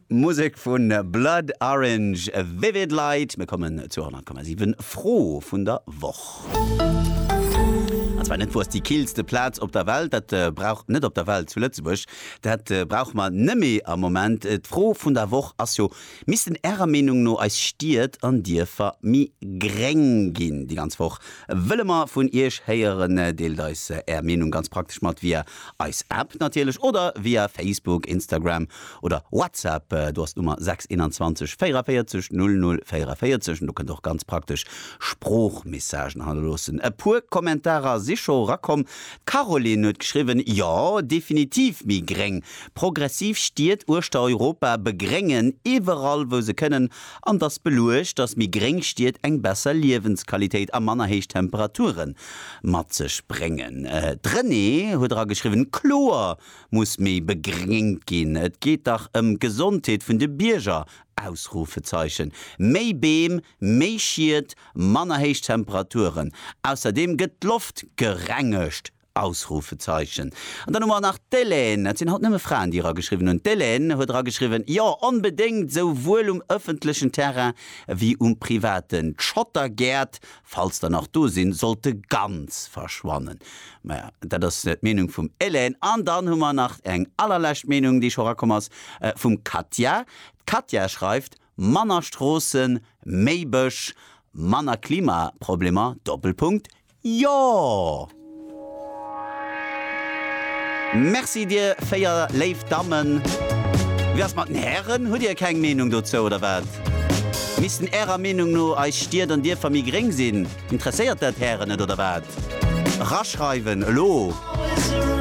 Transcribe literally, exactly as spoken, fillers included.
Musek vun Blood Orange, Vivid Light. Mir kommen zur honnert Komma siwen Fro vun der Woch. An zwar net, wou ass déi killste Plaz op der Welt? Dat brauch, net op der Welt, zu Lëtzebuerg, dat brauche mer nëmme am Moment. D'Fro vun der Woch ass jo, Missten Ärer Meenung no eis Stied an Dierfer méi gréng ginn? Déi ganz Woch wëlle mer vun Iech héieren. Deelt eis Är Meenung ganz praktesch mat via eis App natierlech oder via Facebook, Instagram oder WhatsApp. Do ass d'Nummer sechs einundzwanzeg véierundvéierzeg null null véierundvéierzeg an do kënnt Der och ganz praktesch Sproochmessagen hannerloossen. E puer Kommentarer si scho erakomm. D'Caroline huet geschriwwen, Jo, definitiv méi gréng. Progressiv Stied uechter Europa begréngen iwwerall wou se kënnen an 't ass beluecht, dass méi gréng Stied eng besser Liewensqualitéit a manner héich Temperature mat sech bréngen. D'Renée huet erageschriwwen, Kloer muss méi begréngt ginn, et geet dach ëm d'Gesondheet vun de Bierger! Ausrufezeichen. Méi Beem, méi Schied, manner héich Temperaturen. Ausserdeem gëtt d'Loft gerengegt! Ausrufezeichen. An dann hu mer nach d'Hélène, et sinn haut nëmme Fraen, déi erageschriwwen hunn, d'Hélène huet erageschriwwen, Jo, onbedéngt, souwuel um ëffentlechen Terrain wéi um privaten. D'Schottergäert, falls der nach do sinn, sollte ganz verschwannen. Maja, dat ass d'Meenung vum Hélène. An dann hu mer nach eng allerlescht Meenung, déi scho erakomm ass, vum Katja. D'Katja schreift, Manner Stroossen, méi Bësch, manner Klimaproblemer, Doppelpunkt, jo! Merci dir véier léif Dammen. Wéi ass mat den Hären? Hutt dir keng Meenung dozou oder wat? Missten ärer Meenung no eis Stied an Dierfer méi gréng sinn? Interesséiert dat d'Hären net oder wat? Eraschreiwen elo!